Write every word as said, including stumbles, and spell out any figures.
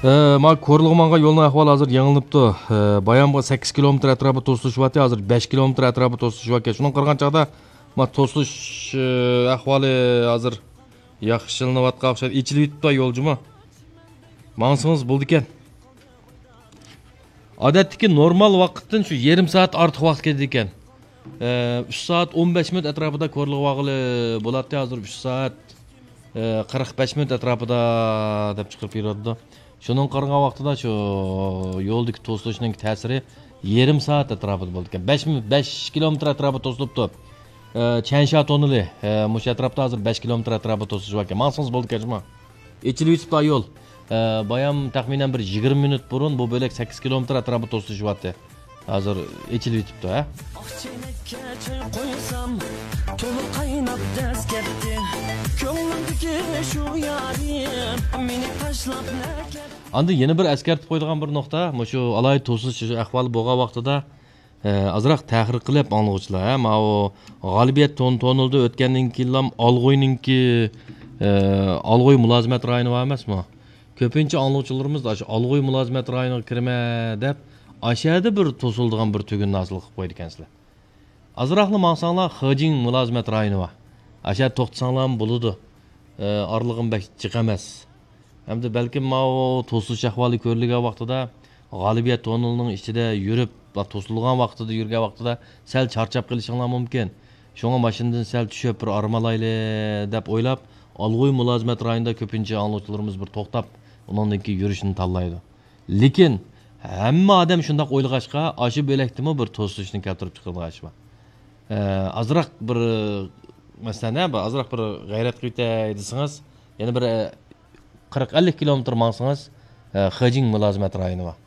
ئە، ما كورلىغا ماڭغان يولنىڭ ئەھۋالى ھازىر يېڭىلىنىپتۇ. ئە، بايامغا سەككىز كىلومېتىر ئەتراپىدا توسۇلۇش بارتى، ھازىر بەش كىلومېتىر ئەتراپىدا توسۇلۇش باركەن. شۇنىڭغا قارىغان چاغدا، ما توسۇلۇش، ئە، ئەھۋالى ھازىر ياخشىلىنىۋاتقان ئوخشايدۇ. ئېچىلىۋېتىپتۇ يول جۇمۇ. ماڭسىڭىز بولىدىكەن. ئادەتتىكى نورمال ۋاقىتتىن شۇ يېرىم سائەت ئارتۇق ۋاقىت كېتىدىكەن. ئە، ئۈچ سائەت ئون بەش مىنۇت ئەتراپىدا كورلىغا بارغىلى بولاتتى، ھازىر ئۈچ سائەت، ئە، قىرىق بەش مىنۇت ئەتراپىدا دەپ چىقىرىپ بېرىۋاتىدۇ. شۇنىڭغا قارىغان ۋاقتىدا شۇ يولدىكى توسۇلۇشنىڭ تەسىرى يېرىم سائەت ئەتراپىدا بولىدىكەن. بەش مىنۇت، بەش كىلومېتىر ئەتراپىدا توسۇلۇپتۇ. ئە، چەنشا توننېلى، ئە، مۇشۇ ئەتراپتا ھازىر بەش كىلومېتىر ئەتراپىدا توسۇلۇش باركەن. ماڭسىڭىز بولىدىكەن شۇما. ئېچىلىۋېتىپتۇ يول. ئە، بايام تەخمىنەن بىر يىگىرمە مىنۇت بۇرۇن بۇ بۆلەك سەككىز كىلومېتىر ئەتراپىدا توسۇلۇشۇۋاتتى. ھازىر ئېچىلىۋېتىپتۇ، ھە؟ ئاق چەينەككە چاي قويسام، تولا قايناپ دەز كەتتى. كۆڭلۈمدىكى شۇ يارىم مېنى تاشلاپ نەگە؟ ئاندىن يەنە بىر ئەسكەرتىپ قويىدىغان بىر نۇقتا، مۇشۇ ئالاھىدە توسۇلۇش ئەھۋالى بولغان ۋاقتىدا، ئە، ئازراق تەھرىر قىلىپ ئاڭلىغۇچىلار، ھە، ماۋۇ غالىبىيەت تون-، توننېلىدا ئۆتكەندىن كېيىنلا ئالغۇينىڭكى، ئە، ئالغۇي مۇلازىمەت رايونى بار ئەمەسمۇ؟ كۆپىنچە ئاڭلىغۇچىلىرىمىز ئاشۇ ئالغۇي مۇلازىمەت رايونىغا كىرىمەن دەپ، ئاشۇ يەردە بىر توسۇلىدىغان بىر تۈگۈننى ھاسىل قىلىپ قويىدىكەنسىلەر. ئازراقلا ماڭساڭلار، خېجىڭ مۇلازىمەت رايونى بار. ئاشۇ يەردە توختىساڭلارمۇ بولىدۇ. ئە، ئارىلىقىمۇ بەك جىق ئەمەس. ھەمدە بەلكىم ماۋۇ توسۇلۇش ئەھۋالى كۆرۈلگەن ۋاقتىدا، غالىبىيەت توننېلىنىڭ ئىچىدە يۈرۈپ، توسۇلغان ۋاقتىدا يۈرگەن ۋاقتىدا سەل چارچاپ قېلىشىڭلار مۇمكىن. شۇڭا ماشىنىدىن سەل چۈشۈپ، بىر ئارام ئالايلى دەپ ئويلاپ، ئالغۇي مۇلازىمەت رايونىدا كۆپىنچە ئاڭلىغۇچىلىرىمىز بىر توختاپ، ئۇنىڭدىن كېيىن يۈرۈشنى تاللايدۇ. لېكىن ھەممە ئادەم شۇنداق ئويلىغاچقا، ئاشۇ بۆلەكتىمۇ بىر توسۇلۇشنى كەلتۈرۈپ چىقىرىدىغان ئىش بار. ئە، ئازراق بىر، مەسىلەن، ھە، بىر ئازراق بىر غەيرەت قىلىۋېتەي دېسىڭىز، يەنە بىر، ئە، قىرىق ئەللىك كىلومېتىر ماڭسىڭىز، ئە، خېجىڭ مۇلازىمەت رايونى بار.